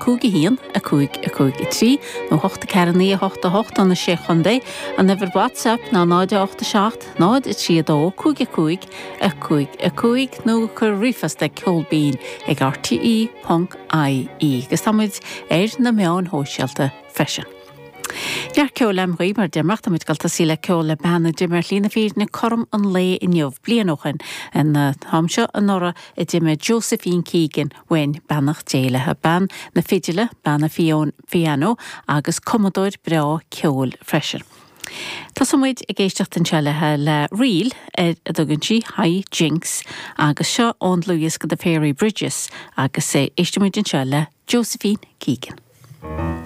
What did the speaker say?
5 1 5 5 3 nó 8 4 9 8 8 do na Sé Chontae. An uimhir WhatsApp ná 0 8 7 0 3 2 5 5 5 5 nó cuir ríomhphost ag ceolbinn ag rte ponc ie agus tá muid ar na meáin shóisialta freisin. Neart ceoil agam dhaoibh mar a deir mé ach tá muid ag dul tosaí le ceol le bean a d'imigh ar shlí na fírinne cothrom an lae inniu, bliain ó shin, an t-am seo anuraidh a d'imigh Josephine Keegan uainn, beannacht Dé léi, bean na fidile, bean an phianó agus cumadóir breá ceoil freisin. Tosóidh muid ag éisteacht anseo léi le ríl ar a dtugann sí High Jinks agus seo ón dlúthdhiosca The Fairy Bridges agus éistfidh muid anseo le Josephine Keegan.